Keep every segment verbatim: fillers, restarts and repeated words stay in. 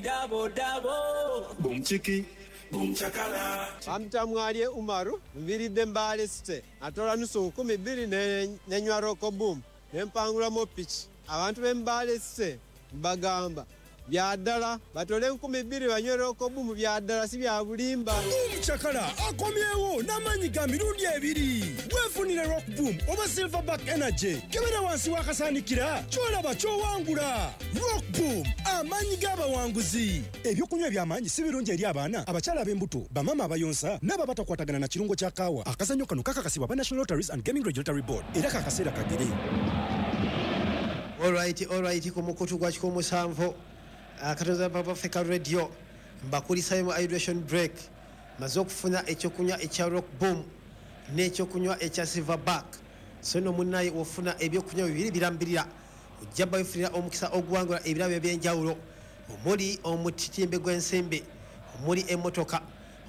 Double, double. Boom chiki, boom chakala. Bamuyita Mwalye Umaru, nviiridde Mbale City. Atola nusu nkumi bbiri ne- nenywa Rock Boom ne mpangulamu piki. Abantu b'e Mbale City mbagamba bya ddala, batole enkumi bbiri banywe Rock Boom, bya ddala, si bya bulimba. Boom Chakala akomyewo n'amaanyi ga mirundi ebiri. Weefunire Rock Boom oba Silverback Energy. Kebera wansi w'akasaanikira, ky'olaba ky'owangula. Rock Boom, amaanyi g'abawanguzi. Ebyokunywa eby'amaanyi si birungi eri abaana, abakyala ab'embuto, bamaama abayonsa n'abo abatakwatagana na kirungo kya kaawa. Akazannyo kano kakakasibwa aba National Lotteries and Gaming Regulatory Board, era kakaseera kagere. Alright, alright, ku mukutu gwa kikumi musanvu akatoza Papa Africa Radio, mbakulisayo mu hydration break. Maze okufuna ekyokunywa ekya Rock Boom n'ekyokunywa ekya Silverback. So no munnaye, ofuna ebyokunywa bibiri birambirira, ojja bawefunira omukisa oguwangula ebirabo ebyenjawulo, omuli omutitimbe gw'ensimbi, omuli emmotoka,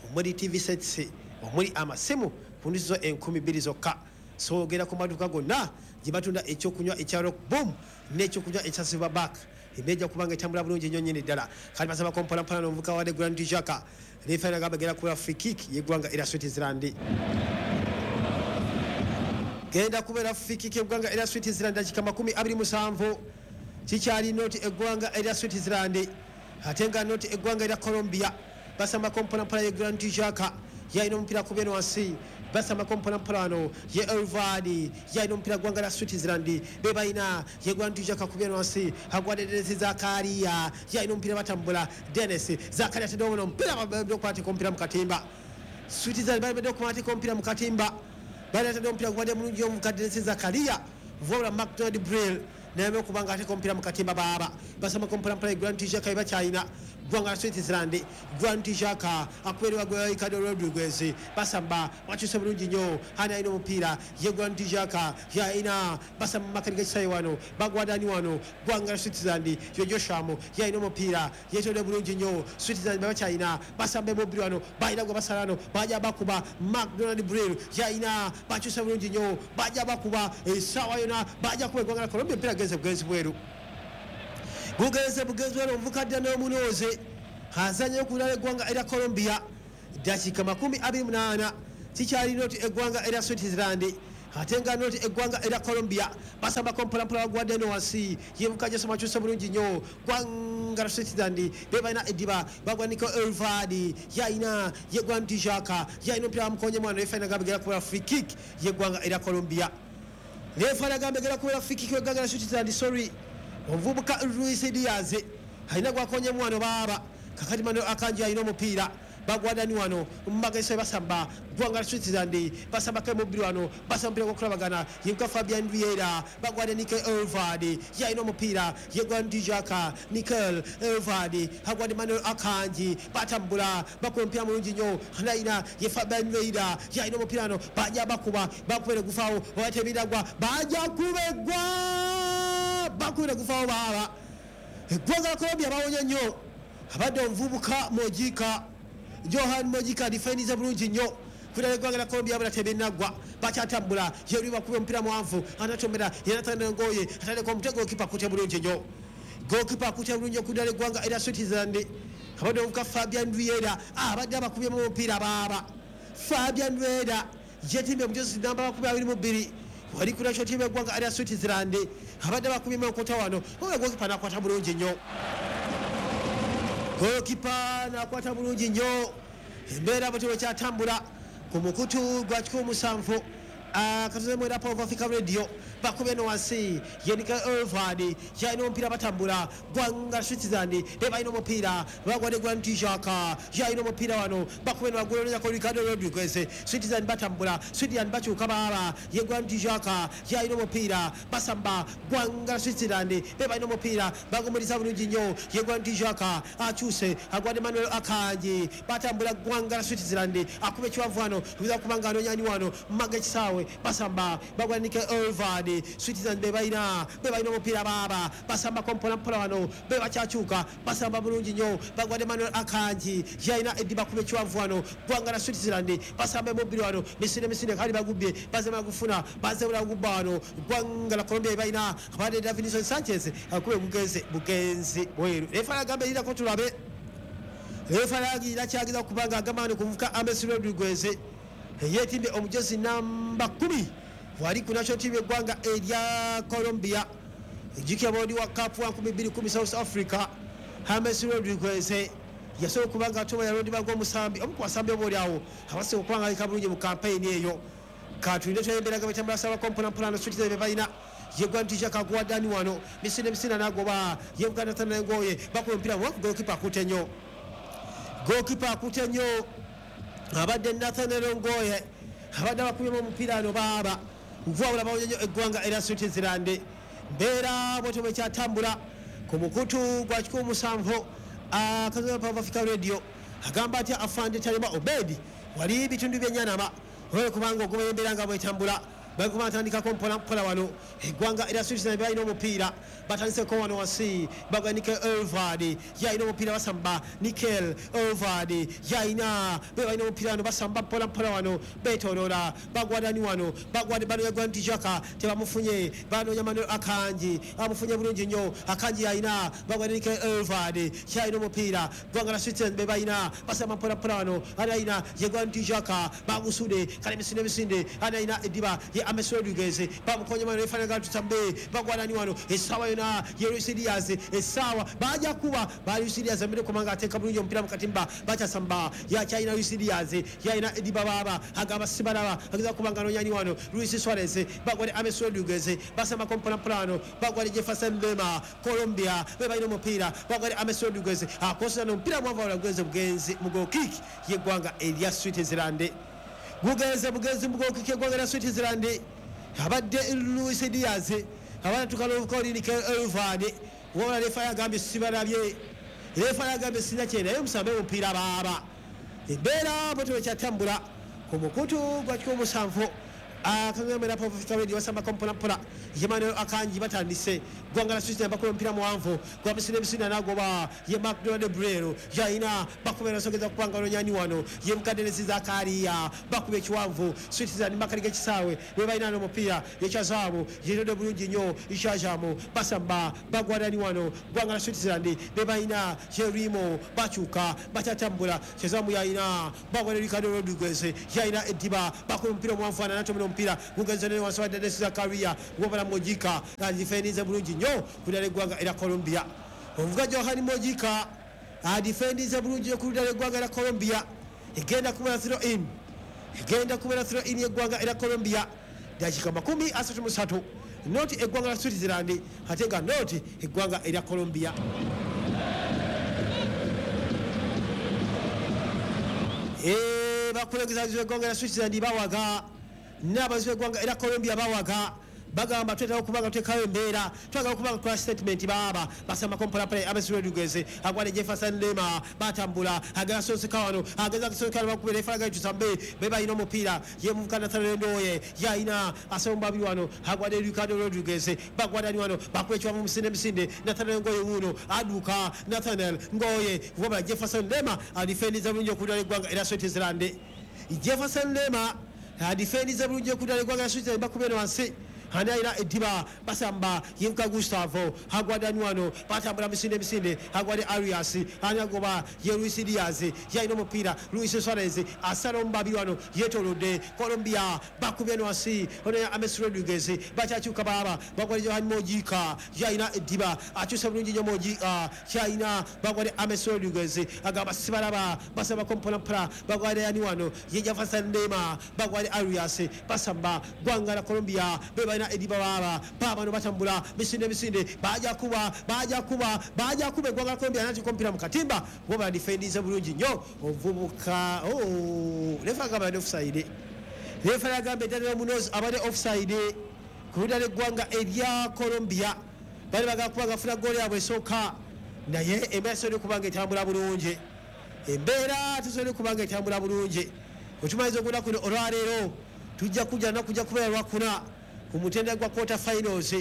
omuli T V sets, omuli amasimu ku nnusu enkumi bbiri zokka. So ogenda ku maduuka gonna gye batunda ekyokunywa ekya Rock Boom n'ekyokunywa ekya Silverback, embeera kubanga etambula bulungi nnyo nnyini ddala. Kati basabako mpolampola n'omuvuka wadde Grand Jaka. Refa nagamba genda kuba free kick y'eggwanga erya Switzerland. Genda kubeera free kick y'eggwanga erya Switzerland. Dakika makumi abiri musanvu, kikyali nought eggwanga erya Switzerland ate nga nought eggwanga erya Colombia. Basambako mpolampola, ye Grand Jaka yalina omupiira ku beno wansi. Basambako mpolampola wano, ye Elvadi yalina omupiira. Gwanga lya Switzerland be balina. Ye Grand Jaka ku beno wansi, agwadde Denis Zakaria, yalina omupiira. Batambula, Denis Zakaria atedde ono omupiira, babadde okukwateka omupiira mu katimba. Switzerland balibadde okukwateka omupiira mu katimba. Bali atadde omupiira gubadde mulungi omuvuka Denis Zakaria, wabula Macdonald Brill naye okuba nga ateeka omupiira mu katimba. Baaba basamako mpolampola. Grand Jaka bakyalina gwanga la Switzerland. Grand Jaka akubeerwa gwa Ricardo Rodriguez. Basamba, bakyuse bulungi nnyo. Ani alina omupiira? Ye Grand Jaka yalina. Basamba makati gekisawe wano, bagwadani wano. Gwanga la Switzerland, yo Josham yalina omupiira, yetonde bulungi nnyo. Switzerland bakyalina. Basamba emobiri wano, balina gwe basala wano, bajja bakuba. Macdonald Brill yalina, bakyuse bulungi nnyo, bajja bakuba essaawa yona, bajja kuba eggwanga la Colombia. Omupiira genze bugenzi bweru, bugenze bugenzi bweru. Omuvuka dda n'omunooze azanyayo ku bulala eggwanga erya Colombia. Dakika makumi abiri munaana, kikyali nought eggwanga erya Switzerland ate nga nought eggwanga erya Colombia. Basambako mpolampola, bagwadde eno wansi, yebuka Jesu, makyuse bulungi nnyo. Gwanga la Switzerland be balina eddiba, bagwa Nico Elvadi yalina. Ye Grand Jaka yalina omupiira, bamukonye mwana. Refa nagamba gera kubeera free kick yeggwanga erya Colombia. Refa nagamba gera kubeera free kick yeggwanga la Switzerland. Sorry, omuvubuka Luis Diaz alina gwakonye mwana. Baaba kakati Manuel Akanji alina omupiira, bagwadani wano mumagese. Basamba gwanga la Switzerland, basambako emubiri wano, basamba omupiira gwokulabagana. Yebuka Fabian Riera, bagwadde Nikel Elvadi, yalina omupiira. Ye Grand Jaka, Nikel Elvadi agwadde Manuel Akanji. Batambula, bakuba omupiira mulungi nnyo. Nayina ye Fabian Riera yalina omupiira wano, bajja bakuba, bakubere gufaawo obatebiragwa, bajja kubegwa, bakubere gufaawo. Baaba eggwanga la Colombia bawonye nnyo. Abadde omuvubuka Mojika, Johan Mojika, difendize bulungi nnyo kudala eggwanga la Colombia. Bula tebinnagwa, bakyatambula. Yeri bakuba omupiira muwanvu, anatomera yenatana ngoye, atandika omutego. Goalkeeper akute bulungi nnyo, goalkeeper akute bulungi okudala eggwanga erya Switzerland. Abadde omuvubuka Fabian Riera abadde abakubyemu omupiira. Baaba Fabian Riera yetimbye mujezi namba makumi abiri mu bbiri, wali ku national team eggwanga erya Switzerland. Abadde bakubyemu enkota wano, oba goalkeeper nakwata bulungi nnyo, goalkeeper nakwata bulungi nnyo. Embeera bwe kyatambula ku mukutu gwa kikumi musanvu akatuzemu era Power of Africa Radio. Bakubye no wansi, yenika Elvadi yalina omupiira. Batambula, gwanga Switzerland be balina omupiira, bagwadde Grand Jaka yalina omupiira wano. Bakubye nowagulonezako Ricardo Rodriguez. Switzerland batambula, Switzerland bakyuka. Baaba ye Grand Jaka yalina omupiira. Basamba, gwanga Switzerland be balina omupiira, bagumiriza bulungi nnyo. Ye Grand Jaka akyuse, agwadde Manuel Akanji. Batambula, gwanga Switzerland. Akuba ekiwanvu wano, biza kubanga anonyani wano maga ekisaawe. kisaawe basamba bagwa Nikel Elvard Switzerland be balina be balina omupiira baaba basambako mpolampola wano be bakyakyuka basamba bulungi nnyo bagwa Emmanuel Akanji yalina eddiba kuba ekiwanvu wano ggwanga la Switzerland basamba emubiri wano misinde misinde kali bagubbye bazema gufuna bazebula gubba wano ggwanga la Colombia balina abadde Davinson Sanchez akube bugenzi bugenzi bweru refa agamba erindako tulabe refa agira kyageza kubanga agamba wano kuvuka James Rodriguez yeetimbye omujozi namba kumi wali ku national team y'eggwanga erya Colombia ejjukira boodi wa cup wa nkumi bbiri kumi South Africa James Rodriguez yasobola okuba nga atoba yalondebwa ng'omusambi omu ku basambi oba oli awo abasinga okuba nga aleka bulungi mu kampeyini eyo katulinde tweyemberaga betambula sabako mpolampola nosukiriza bye balina yegwantisha kaguwa dani wano misinde misinde n'agoba yebuganda tanaengoye bakuba omupiira muwanvu golokipa akutte nnyo golokipa akutte nnyo abadde Nathaniel Ngoye abadde abakubyemu omupiira ano baaba nvwabula bawonye nnyo eggwanga erya Switzerland mbeera bwetyo bwekyatambula ku mukutu gwa kikumi musanvu akazola Power Africa Radio agamba atya afande Talima Obedi wali bitundu by'Enyanama olwo kubanga ogoba embeera nga bwetambula baguma batandikako mpola mpola wano eggwanga erya Switzerland balina omupiira batandiseko wano wansi bagwa Nikel Elvard yalina omupiira basamba Nikel Elvard yalina be balina omupiira wano basamba mpola mpola wano beetooloola bagwa dani wano bagwa banoonya Granit Xhaka tebamufunye banoonya Manuel Akanji amufunye bulungi nnyo Akanji yalina bagwa Nikel Elvard yalina omupiira ggwanga la Switzerland be balina basamba mpola mpola wano alina ye Granit Xhaka bagusude kale misinde misinde alina eddiba ye James Rodriguez bamukonye mano efana gatutambe bagwanani wano esawa yona ye Luis Diaz esawa baja kuba ba Luis Diaz amire komanga ateka bulungi omupiira mu katimba bakyasamba ya China Luis Diaz yalina ediba baba agamba sibalaba ageza kubanga nonyani wano Luis Suarez bagwale James Rodriguez basamba kompola plano bagwale Jefferson Lema Colombia be balina omupiira bagwale James Rodriguez akosa n'omupiira mwava wala bugenzi mu goal kick y'eggwanga erya Switzerland bugenze bugenzi mu goal kick y'eggwanga erya Switzerland abadde Luis Diaz abana tukalovuka Nikel Elvard wabula refa yagambye sibalabye refa yagambye sina kye naye musambe omupiira baaba embeera bwetyo bwekyatambula ku mukutu gwa kikumi musanvu akagamera Power Africa Radio basambako mpola mpola Emmanuel Akanji batandise ggwanga la Switzerland bakuba omupiira muwanvu gwa misinde misinde n'agoba ye McDonald Brero yalina bakuba ensogeza kupanga nonyani wano ye Mkadenesi Zakaria bakuba ekiwanvu Switzerland makali g'ekisaawe be balina n'omupiira ekyazaabu yetodde bulungi nnyo Ishajamu basamba bagwadani wano ggwanga la Switzerland be balina Jerimo bakyuka bakyatambula Kyezamu yalina bagwa ne Ricardo Rodriguez yalina eddiba bakuba omupiira omuwanvu anatomera omupiira gugenze ne wansi wa Dennis Zakaria wabala Mojika adifendize bulungi nnyo ku ddala eggwanga erya Colombia omuvuga Johan Mojika adifendize bulungi ku ddala eggwanga erya Colombia egenda kubeera throw in egenda kubeera throw in y'eggwanga erya Colombia dakika makumi asatu mu ssatu noti eggwanga la Switzerland ate nga noti eggwanga erya Colombia Eh bakulengeza eggwanga erya Switzerland bawaga n'abazi b'eggwanga erya Colombia bawaga bagamba twetaaga okubanga tuteekayo embeera twagala okubanga tukola statement baaba basambako mpolampola James Rodriguez agwale Jefferson Lema batambula agala soseka wano ageza kusoseka bakubira efalaga tusambe be balina omupiira ye muvuka Nathaniel Ndoye yalina asomba babiri wano agwale Ricardo Rodriguez bagwadani wano bakuba ekiwavu misinde misinde Nathaniel Ngoye wuno aduka Nathaniel Ngoye wabula Jefferson Lema adifendiza bulungi okudala eggwanga erya Switzerland Jefferson Lema adifendiza bulungi okudala eggwanga erya Switzerland bakubira wansi anaira ediba basamba yevuka Gustavo hagwadani wano batambula misinde misinde hagwade Arias anagoba ye Luis Diaz yalina omupiira Luis Suarez asala omubabi wano yeetolodde Colombia bakubye no wansi ono ya James Rodriguez bakyakyuka baaba bagwade Johan Mojika yalina ediba akyusa bulungi nnyo Mojika yalina bagwade James Rodriguez agamba sibalaba basambako mpolampola bagwade yani wano ye Jefferson Lema bagwade Arias basamba ggwanga la Colombia be balina ediba baba baba no batambula misinde misinde baja kuba baja kuba baja kuba eggwanga la Colombia nati kompira mu katimba goba defendize bulungi nnyo omuvubuka oh refa agamba offside refa agamba Daniel Munoz abadde offside ku ludda lw'eggwanga erya Colombia bali bagala kuba gafuna ggoolo yaabwe esooka naye embeera tesobola okuba nga etambula bulungi embeera tesobola okuba nga etambula bulungi otumaliza okudda kuno olwaleero Tujja kujja na kujja kubeera lwakuna ku mutendera gwa quarter finals.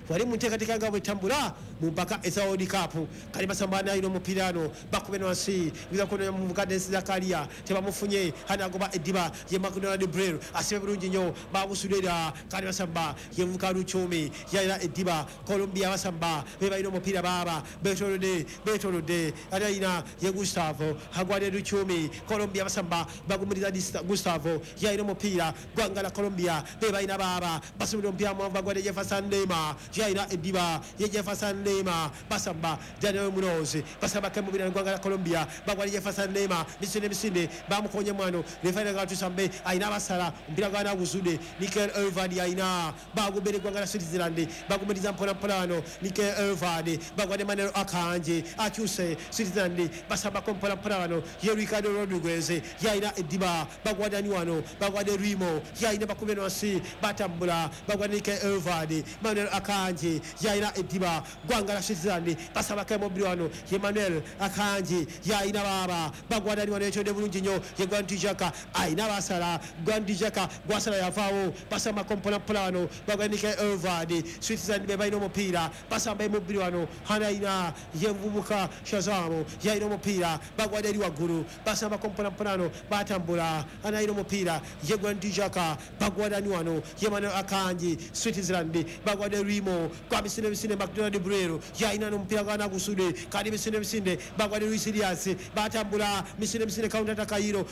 Wali mu nteekateeka nga bwetambula mu mpaka eza World Cup. Kali basamba nayo omupiira ano bakube wansi biza kuno mu Dennis Zakaria tebamufunye hanagoba ediba ye McDonald Brel asibe bulungi nnyo bagusudera. Kali basamba ye Muvuka Luchumi yalira ediba Colombia basamba be balina omupiira baba betolode betolode alina ye Gustavo Hagwade Luchumi Colombia basamba bagumiriza Gustavo yalira omupiira gwanga la Colombia be balina baba basubira omupiira mu bagwade Jefferson Lema yalira ediba ye Jefferson Lema basamba Daniel Munoz basamba kemubira gwanga la Colombia bagwali Jefferson Lema misinde misinde bamukonye mwano referee gatusambe ayina basala mpira gwana gusude Mikel Elvadi ayina bagubere gwanga la Switzerland bagumiriza mpola mpola Mikel Elvadi bagwade Manuel Akanje achuse Switzerland basamba kompola mpola ye Ricardo Rodriguez yayina ediba bagwade niwano bagwade Rimo yayina bakubeno wansi batambula bagwade Mikel Elvadi Manuel Akanje yayina ediba gwanga la Switzerland basaba kemobirwano Emmanuel Akanje yayina baba bagwada ni wano de bulungi nnyo ye Gwandijaka ayina basala Gwandijaka gwasala yavaawo basamba kompola mpola bagwade Mikel Elvadi Switzerland be balina omupiira basamba emobirwano hanayina ye Mvubuka Shazamo yayina omupiira bagwada eri waggulu basamba kompola mpola batambula anayina omupiira ye Gwandijaka bagwada ni wano ye Emmanuel Akanje Switzerland bagwade Rimo kwa misinde misinde McDonald Brero yayina n'omupiira gwana gusude kandi misinde misinde bagwade Luis Diaz batambula misinde misinde counter attack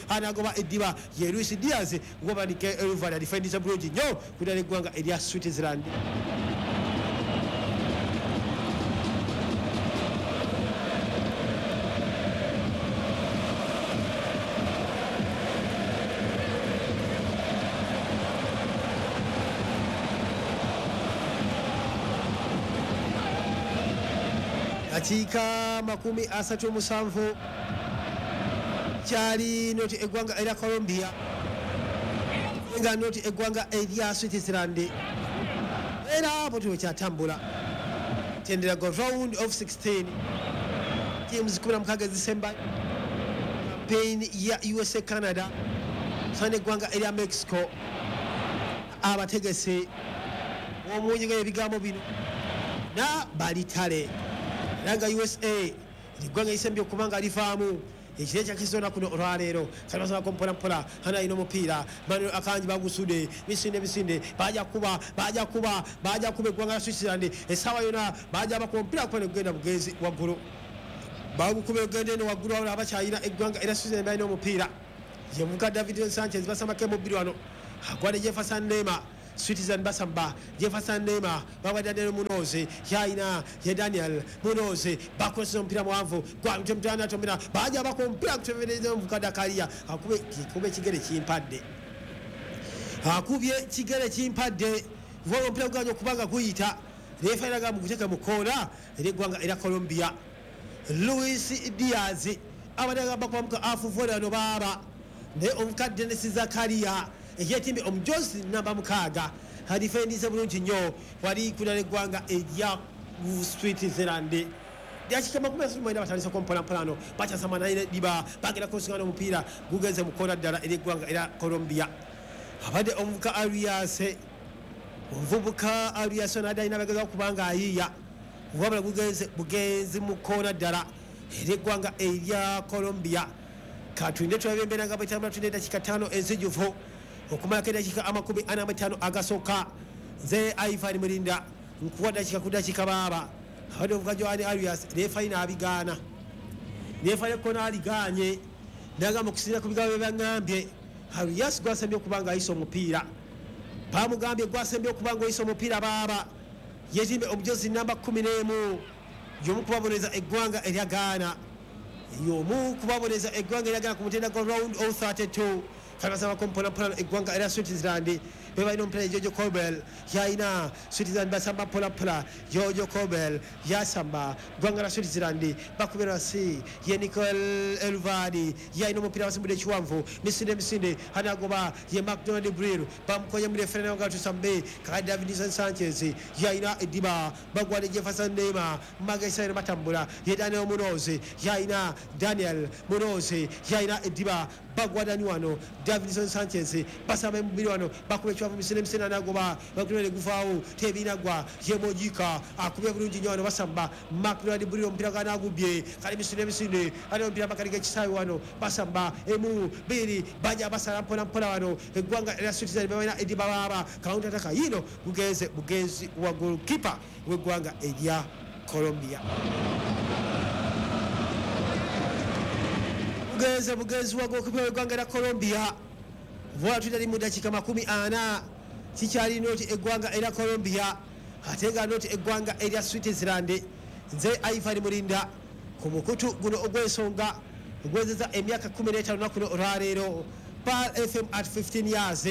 anagoba ediba ye Luis Diaz goba Mikel Elvadi defendisa bulungi nnyo kudala eggwanga erya Switzerland. Dakiika makumi asatu musanvu kyali noti eggwanga erya Colombia nga noti eggwanga erya Switzerland era bwe kyatambula tendera go round of sixteen teams kumi na mukaaga ezisemba campaign ya U S A Canada sane eggwanga erya Mexico abategese omunyiga ebigambo bino na balitale nga U S A liggwanga isembye okubanga livaamu ekire kyakizona kuno olwaleero kalibasaba kompola mpola hana ino omupiira Manuel Akanji bagusude misinde misinde baja kuba baja kuba baja kuba eggwanga la Switzerland essaawa yonna baja bakuba omupiira kuba negugenda bugenzi waggulu bagukuba egenda eno waggulu wabula abakyayina eggwanga era Switzerland balina omupiira ye Muvuka David Sanchez basambako emubiri wano agwade Jefferson Lema Switzerland basamba Jefferson Lema bagwa Daniel Munoz yayina ye Daniel Munoz bakozesa omupiira muwanvu gwa mutana tomera baja bakuba omupiira kutebereza Muvuka Dakaria akube kikube kigere kimpadde akubye kigere kimpadde vuba omupiira gwanyo kubanga guyita refa eraga muguteka mu koona eri eggwanga era Colombia Luis Diaz abadde bakuba muka afuvola no baaba naye omuka Dennis Zakaria eyetimbe omujozi namba mukaaga hadifendize bulungi nnyo wali kulala eggwanga erya Switzerland. Dakika makumi asatu mwenda batandise kompola mpola no bakyasamba naye diba bagenda kusigana omupiira gugenze mu koona ddala eri eggwanga era Colombia. Abadde omuvuka Arias omuvubuka Arias nadde alina abagezaako kubanga ayiiya wabula gugenze bugenzi mu koona ddala eri eggwanga erya Colombia. Katulinde tulabe embeera nga bwetambula tulinde eddakiika ttaano ezijjuvu okumalako eddakiika amakumi ana mu ttaano agasooka. Nze Ivan Mulinda nkuwa ddakiika ku ddakiika baaba abadde omuvuka Joan Arias refa n'abigaana refa yekona aligaanye n'agamba okusinziira ku bigambo bye baŋŋambye Arias gwasembye okuba nga ayisa omupiira bamugambye gwasembye okuba nga oyisa omupiira baaba yetimbe omujozi namba kkumi n'emu y'omu kubabonereza eggwanga erya Ghana y'omu kubabonereza eggwanga erya Ghana ku mutendera gwa round of thirty-two. Kalibasaba kompola mpola eggwanga erya Switzerland Bebalina omupiira Jojo Cobel yalina Switzerland basamba mpola mpola. Jojo Cobel yasamba ggwanga la Switzerland bakubira wansi ye Nicole Elvadi yalina omupiira basimbudde ekiwanvu misinde misinde anagoba ye McDonald Brill bamukonye mu referee nga tusambe kakati Davidson Sanchez yalina eddiba bagwale Jefferson Neymar Magesere batambula ye Daniel Munoz yalina Daniel Munoz yalina eddiba bagwadani wano Davidson Sanchez basamba emubiri wano bakuba ekiwanvu misinde misinde anagoba bakulere guvaawo tebinagwa ye Mojika akubye bulungi nnyo wano basamba McDonald Brill omupiira ganagubye kali misinde misinde ali omupiira bakaliga ekisaawe wano basamba emu biri baja basala mpola mpola wano eggwanga lya Switzerland balina eddiba baaba counter attack yino bugenze bugenzi wa goalkeeper w'eggwanga erya Colombia. Bugenze bugenzi wa goalkeeper w'eggwanga lya Colombia vola tutali mu dakiika makumi ana kikyali noti eggwanga erya Colombia ate nga noti eggwanga erya Switzerland. Nze Ivan Mulinda ku mukutu guno ogw'ensonga ogwezeza emyaka kumi n'etaano lunaku luno olwaleero Pearl F M at fifteen years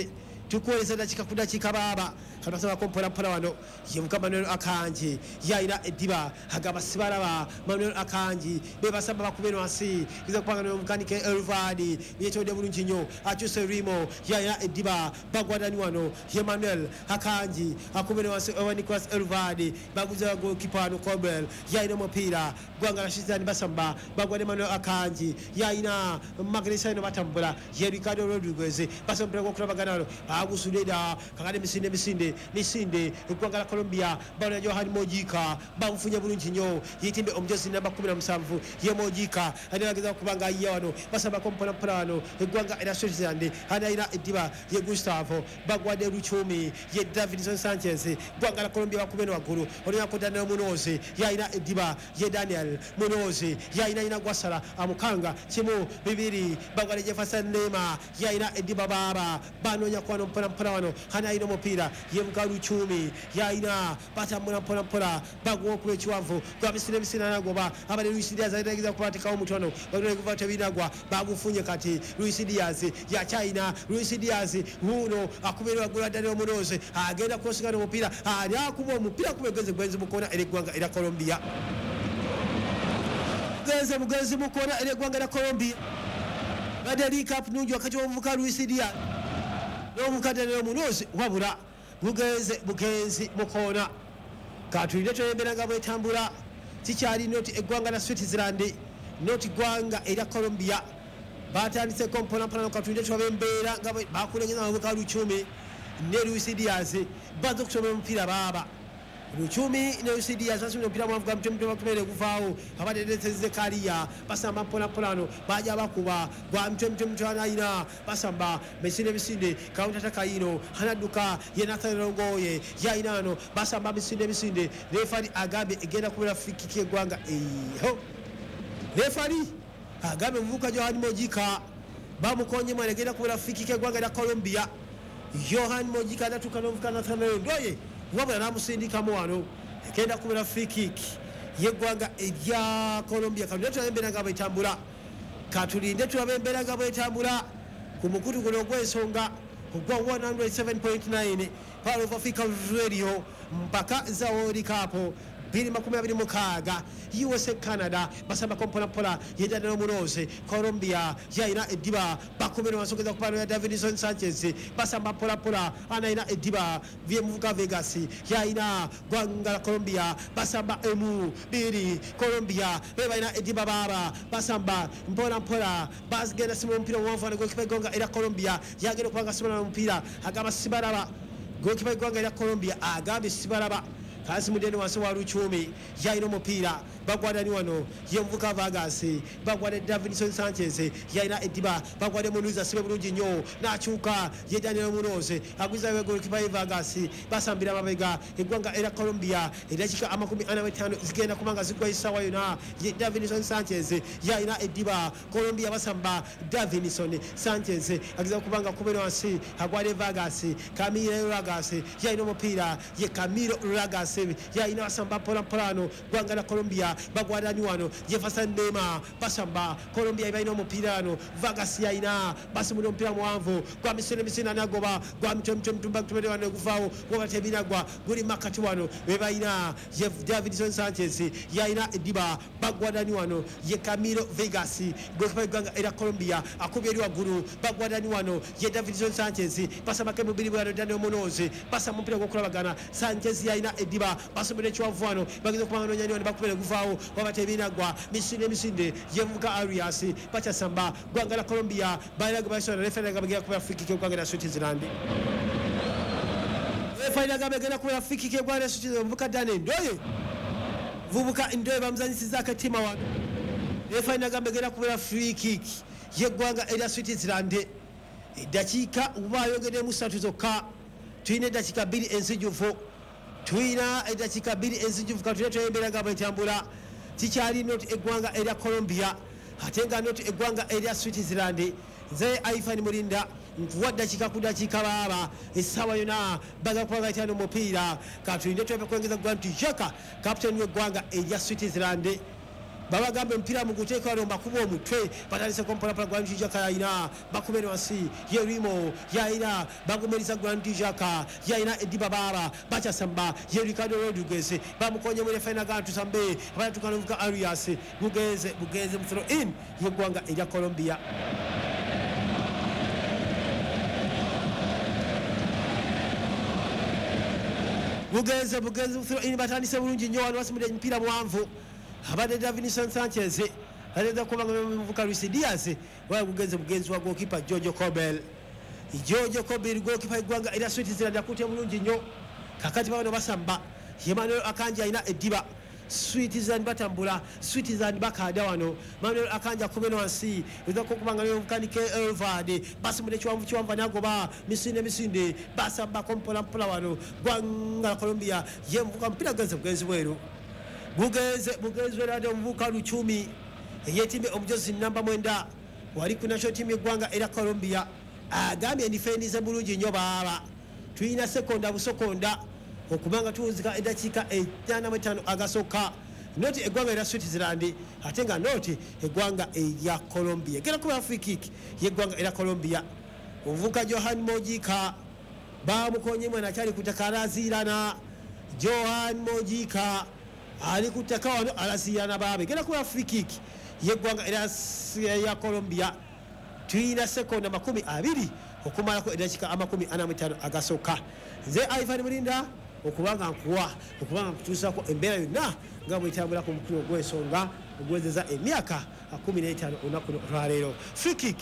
tukuweereza dakiika ku dakiika baaba katwasabako mpola mpola wano yevuga Manuel Akanji yalina eddiba agamba sibalaba Manuel Akanji bebasamba bakube wansi kiza kupanga n'omukanike Elvadi yetonde bulungi nnyo akyuse Rimo yalina eddiba bagwadani wano ye Manuel Akanji akubere wansi owa Nicolas Elvadi baguza goalkeeper wano Cobel yalina omupiira gwanga la Switzerland basamba bagwade Manuel Akanji yalina Magrisa ino batambula ye Ricardo Rodriguez basamba omupiira gw'okulabagana wano bagusudeda kakade misinde misinde misinde eggwanga la Colombia bano Johan Mojika bamufunye bulungi nnyo yetimbe omujozi namba kumi na musanvu ye Mojika anageza kubanga ayiya wano basambako mpola mpola wano eggwanga erya Switzerland analina eddiba ye Gustavo bagwade Luchumi ye Davidson Sanchez eggwanga la Colombia bakube waggulu olunako Daniel Munoz yalina eddiba ye Daniel Munoz yalina ina gwasala amukanga kimu bibiri bagwade Jefferson Neymar yalina eddiba baaba banoonya kwano mpola mpola wano analina omupiira ye Luchumi yalina batambula mpola mpola baguwa okuba ekiwanvu gwa misinde misinde anagoba abale Luis Diaz alinagiza kubatekawo omutono bagenda kuva tebinagwa bagufunye kati Luis Diaz yakyalina Luis Diaz wuuno akubira waggulu Daniel Munoz agenda kusigana omupiira ali akuba omupiira kuba egenze gwenzi mukona eri eggwanga erya Colombia genze mugenzi mukona eri eggwanga erya Colombia badde link-up nungi wakati w'omuvubuka Luis Diaz n'omuvubuka Daniel Munoz wabula bugenze bugenzi mukona katulinde tweyembera nga bwetambula kikyali noti eggwanga la Switzerland noti ggwanga erya Colombia batandiseko mpola mpola katulinde tulabe embeera nga bakulengeza abavubuka Luchumi ne Luis Diaz baze okusoma omupiira baaba Luchumi ne Luis Diaz basumye omupiira mwavuga mutwe bakumere guvaawo abadde Zekaria basamba mpola mpola wano baja bakuba gwa mutwe mutwe mutwe analina basamba misinde misinde counter attack yino anadduka ye Nathan Longoye yalina wano basamba misinde misinde refari agambye egenda kubeera free kick y'eggwanga eho refari agambye omuvubuka Johan Mojika bamukonye mwana egenda kubeera free kick y'eggwanga lya Colombia. Johan Mojika anatuuka n'omuvubuka Nathan Longoye wabula n'amusindikamu wano egenda kubeera free kick y'eggwanga erya Colombia. Katulinde tulabe embeera nga bwetambula katulinde tulabe embeera nga bwetambula ku mukutu guno ogw'ensonga ogwa one oh seven point nine Power of Africa Radio mpaka za World Cup bibiri makumi abiri mukaaga U S A Canada basambako mpola mpola ye Daniel Munoz Colombia yalina eddiba bakubira wansi okugeza ku ya Davidson Sanchez basamba mpola mpola analina eddiba vyemuvuga Vegas yalina ggwanga la Colombia basamba emu biri Colombia bebalina eddiba baaba basamba mpola mpola bagenda sima omupiira omuwanvu wano goalkeeper eggwanga erya Colombia yagenda okuba nga asimula omupiira agamba sibalaba goalkeeper eggwanga erya Colombia agambye sibalaba kasi mudeni wansi wa Luchumi yalina omupiira bagwadani wano ye muvuka Vargas bagwade Davidson Sanchez yalina eddiba bagwade Munoz asibe bulungi nnyo n'akyuka ye Daniel Munoz agwizayo goalkeeper Vargas basambira mabega eggwanga erya Colombia eddakiika amakumi ana mu ttaano zigenda kuba nga ziggwa essaawa yonna ye Davidson Sanchez yalina eddiba Colombia basamba Davidson Sanchez ageza kuba nga akubera wansi agwade Vargas Camilo Vargas yalina omupiira ye Camilo Vargas yalina basamba mpola mpola wano ggwanga la Colombia omupiira bagwadani wano Jefferson Lema basamba Colombia ibalina omupiira wano Vargas yalina basimula omupiira muwanvu gwa misinde misinde anagoba gwa mitwe mitwe mitumba tumere wano guvaawo gwoba tebinagwa guli makati wano bebalina Davidson Sanchez yalina ediba bagwadani wano ye Camilo Vegas gokipa eggwanga era Colombia akubye eri waggulu bagwadani wano ye Davidson Sanchez basambako emubiri bwano Daniel Munoz basamba omupiira gw'okulabagana Sanchez yalina ediba basomera ekiwanvu wano bageza okubanga nonyani wano bakubere guvaawo waba tebinagwa misinde misinde yevuka Arias bakyasamba ggwanga la Colombia balina gwe basona referee agamba kuba free kick eggwanga lya Switzerland. Referee agamba egenda kuba free kick eggwanga lya Switzerland muvuka Daniel Ndoye vubuka Ndoye bamuzanyisizzaako ettima wano. Referee agamba egenda kuba free kick yeggwanga erya Switzerland. Eddakiika oba ayongeddemu ssatu zokka, tulina eddakiika bbiri enzijuvu, tulina eddakiika bbiri enzijuvu katulina tweyembera nga bwetambula. Kikyali noti eggwanga erya Colombia ate nga noti eggwanga erya Switzerland. Nze Ivan Mulinda nkuwa ddakiika ku ddakiika baaba essaawa yonna baga kuba bayitana omupiira. Katulinde twebe kwengeza Grant Xhaka kapiteni w'eggwanga erya Switzerland. Babagamba omupiira muguteeka wano mbakuba omutwe batandiseko mpolampola. Grant Xhaka yalina bakubere wansi yerimo yalina bagumiriza Grant Xhaka yalina ediba baaba bakyasamba ye Ricardo Rodriguez bamukonye mu referee nagantu sambe abatukana ovuga Arias bugenze bugenze mu throw in yeggwanga erya Colombia. Bugenze bugenze mu throw in batandise bulungi nnyo wano basimudde emipiira muwanvu abadde Davinson Sanchez aleza kubanga muvuka Luis Diaz wala bugenze bugenzi wa goalkeeper Jojo Kobel. Jojo Kobel goalkeeper eggwanga era Switzerland akutte bulungi nnyo. Kakati bano basamba Emmanuel Akanji alina eddiba Switzerland batambula Switzerland bakada wano Manuel Akanji akubeno wansi eza kubanga muvuka Elvade basimudde kiwanvu kiwanvu anagoba misinde misinde basamba kompola mpola wano gwanga la Colombia ye muvuka mpira genze bugenzi bweru bugenze bugenzi werade omuvuka Luchumi eyetimbe omujozi namba mwenda wali ku national team yeggwanga era Colombia agambye ndifendize bulungi nnyo baaba tulina sekonda busokonda okubanga tuwuzika eddakiika etaano mu ttaano agasooka noti eggwanga erya Switzerland ate nga noti eggwanga erya Colombia gera kuba free kick yeggwanga erya Colombia. Omuvuka Johan Mojika bamukonye mwana akyali ku ttaka alaziirana. Johan Mojika ali ku ttaka wano alaziirana baabe gera kuba free kick yeggwanga erya Colombia. Tulina sekonda makumi abiri okumalako eddakiika amakumi ana mu ttaano agasooka. Nze Ivan Mulinda okubanga nkuwa okubanga nkutuusaako embeera yonna nga bwetambula ku mukulu ogw'ensonga ogwezeza emyaka kumi n'etaano olunaku lwaleero. Free kick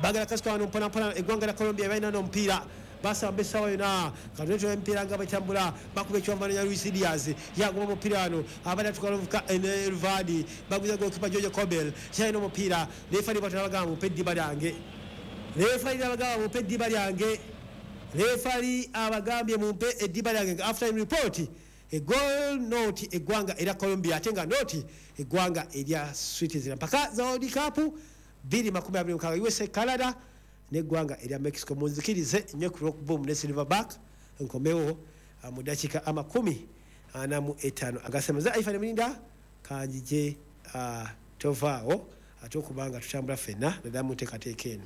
bagala kasika wano mpolampola eggwanga lya Colombia balina n'omupiira basamba essaawa yonna katuleetera emipiira nga bwetambula bakuba ekiwambano ya Luis Diaz yagoba omupiira wano abadde atuuka n'omuvuka Elvadi baguza goalkeeper Jojo Kobel kyalina omupiira. Referee bw'atyo n'abagamba mumpe eddiba lyange. Referee n'abagamba mumpe eddiba lyange. Referee abagambye mumpe eddiba lyange. After report a goal noti eggwanga erya Colombia ate nga noti eggwanga erya Switzerland mpaka za World Cup bbiri makumi abiri mukaaga U S A Canada n'eggwanga erya Mexico. Munzikirize nnyo ku Rock Boom ne Silverback nkomewo mu ddakiika amakumi ana mu etaano agasemeza. Ivan Mulinda kanjije tovaawo ate okubanga tutambula ffenna naddala mu nteekateeka eno.